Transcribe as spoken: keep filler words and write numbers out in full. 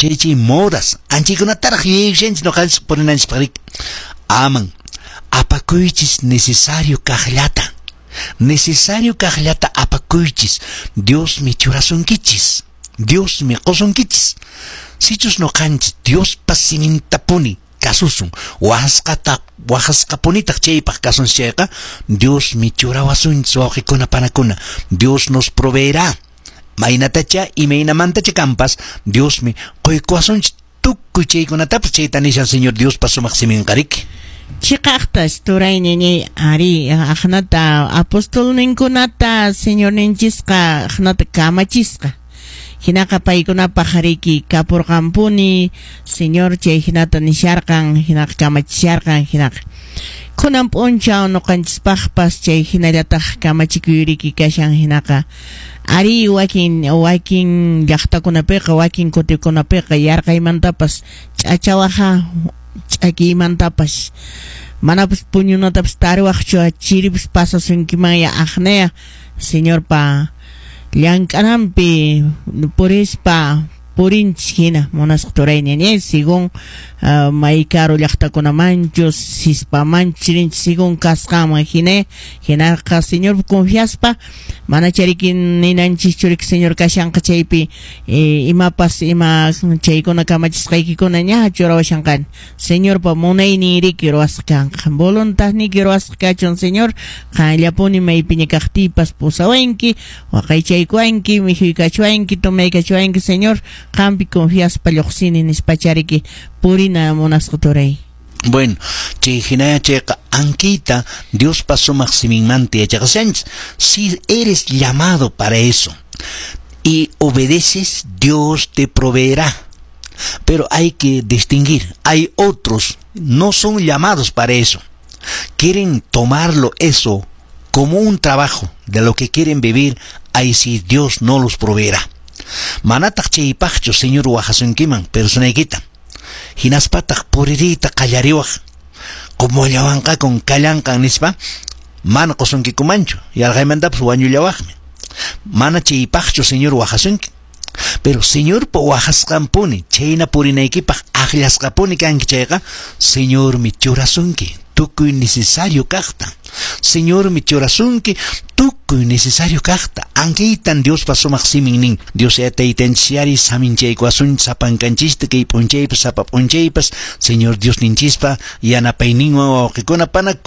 Chay chay modas anchaykunataraq yuyaykushanchis ñuqanchis purinanchispaq riki. Aman apakuychis necesario kaqllata. Necesario kaqllata apakuychis. Diosmi churasunkichis. Diosmi qusunkichis. Sichus ñuqanchis Diospa simintapuni kasusun, wahasqata wahasqapunitaq chaypaq kasunchis chayqa, Diosmi churawasunchis, wawqikuna panakuna. Dios nos proveerá. Maynatacha imaynamantacha kanpas Diosmi quykuwasunchis tukuy chaykunatapas, chayta nishan Señor Diospa sumaq siminqa riki. Chiqaqtas turay ñañay, ari aqnata apostolninkunata Señorninchisqa aqnata kamachisqa. Hinaqa paykunapaq riki kapurqanpuni Señor chay hinata nisharqan, hinaqa kamachisharqan, hinaqa kunan p'unchaw ñuqanchispaqpas chay hinallataq kamachikuy kashan. Hinaqa ari wakin wakin llaqtakunapiqa, wakin kutikunapiqa yarqaymantapas ch'achawaqa, ch'akiymantapas manapas puñunatapas tariwaqchu, chiripas pasasunkiman aqnaya Señorpa llank'ananpi purispa purinchis hina, munasqa turay ñañay, según uh, may karu llaqtakunamanchus sispamanchus rinchis según kasqanman hina. Hinaqa Señor confiaspa mana chariki ninanchischu riki Señor kashanqa chaypi eh, imapas ima chaykuna kamachisqaykikuna ña churawashanqani. Señorpa munaynin riki ruwasqa kanqa, voluntadniyki ruwasqa kachun, Señor, qanllapuni maypiña kaqtiypas pusawanki, waqaychaykuwanki, mikhuykachuwanki, tomaykachuwanki, Señor, qampi confiaspa lluqsini nispachariki purina, munasqa turay. Bueno, chay hinaya chayqa ankita Diospa sumaq siminmanta yachaqashanchis. Si eres llamado para eso y obedeces, Dios te proveerá. Pero hay que distinguir, hay otros no son llamados para eso. Quieren tomarlo eso como un trabajo de lo que quieren vivir, ahí sí Dios no los proveerá. Manataq chaypaqchu Señor wahasunkiman personaykita. Hinaspataq puririyta qallariwaq. Kumullawanqakun kallanqan nispa mana qusunkikumanchu, yarqaymantapas wañullawaqmi. Mana chaypaqchu Señor wahasunki. Pero Señorpa wahasqanpuni chayna purinaykipaq akllasqapuni kanki chayqa, Señormi churasunki tukuy necesario kaqta. Señormi churasunki tukuy necesario kaqta. Ankaytan Diospa sumaq simin nin. Dios ya taytanchisyari saminchaykuwasunchis sapankanchista kay p'unchaypas sapa p'unchaypas Señor Dios ninchispa yanapayninwan, wawqikuna panakuna.